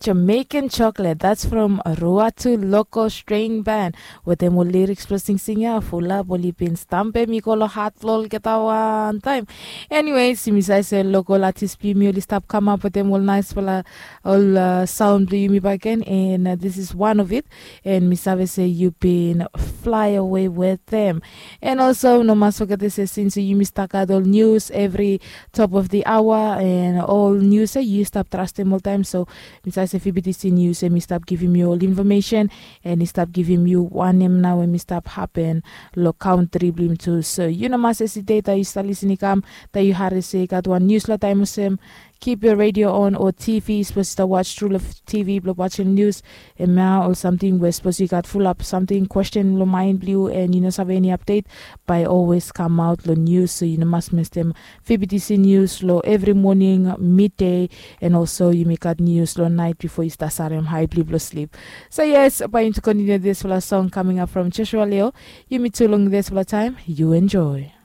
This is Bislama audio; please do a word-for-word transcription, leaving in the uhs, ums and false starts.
Jamaican Chocolate, that's from Ruatu Loco String Band. Wetem ol lyrics blong singsing ya, fulap oli bin stampem i go long hat blong olgeta wantaem. Anyways, yumi save se local artist blong yumi oli stap kamap wetem ol naispela ol uh, sound blong yumi baken, and uh, this is one of it. And mi save se you been fly away with them. And also no mas forget se since yumi stakat ol news every top of the hour and ol news ya yu stap trastem oltaem, so mi save se fibitisi news em i stap givim yu ol information, and i stap givim yu wanem nao em i stap hapen long kantri blong yumi tu. So yu no mas hesitate taem yu stap lisin i kam, taem yu hari se i gat wan news long taem olsem, keep your radio on o tv, sapos yu stap watch tru long tv blong watchim news. Em ya ol samting we sapos yu gat fulap samting kwesten long maen blong yu and yu no save eni update, bae always kamaot long news, so yu no mas mestem fibitisi news long evri moning, midday, and also yumi gat news long nait bifo yu stap sarem hae blong yu blong slip. So yes, bae yumi tu kontiniu disfala song coming up from Joshua Leo. Yumi tu long disfala taem, yu enjoy.